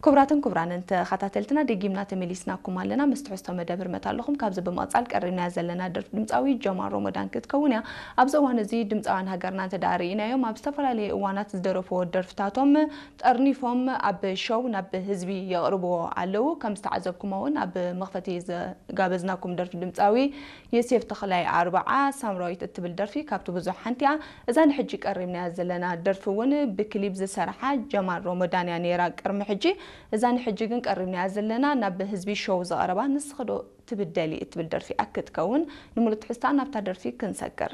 ክቡራትን ክቡራንን ተኸታተልትና፣ ደጊምና ተመሊስናኩም ኣለና። ምስ ትሕዝቶ መደብ ህርመት ኣለኹም። ካብዚ ብምቕጻል ቀሪብናያ ዘለና ደርፊ ድምጻዊ ጀማል ሮሞዳን ክትከውን እያ። ኣብዚ እዋን እዚ ድምጻውያን ሃገርና እንተ ደኣ ርኢናዮም፣ ኣብ ዝተፈላለዩ እዋናት ዝደረፍዎ ደርፍታቶም ጠርኒፎም ኣብ ሾው ናብ ህዝቢ የቕርብዎ ኣለዉ። ከም ዝተዓዘብኩሞ እውን ኣብ መኽፈቲ ዝጋበዝናኩም ደርፊ ድምጻዊ ዮሴፍ ተኽላይ ኣርብዓ ሳምራዊት እትብል ደርፊ ካብቲ ብዙሕ ሓንቲ እያ። እዛ ንሕጂ ቀሪብናያ ዘለና ደርፊ እውን ብክሊፕ ዝሰርሓ ጀማል ሮሞዳን እያ ነይራ ቅድሚ ሕጂ። እዛ ንሕጂ ግን ቀሪብናያ ዘለና ናብ ህዝቢ ሾው ዘቕረባ ንስኺ ዶ ትብደሊ እትብል ደርፊ እያ ክትከውን። ንምሉእ ትሕዝታ ናብታ ደርፊ ክንሰግር።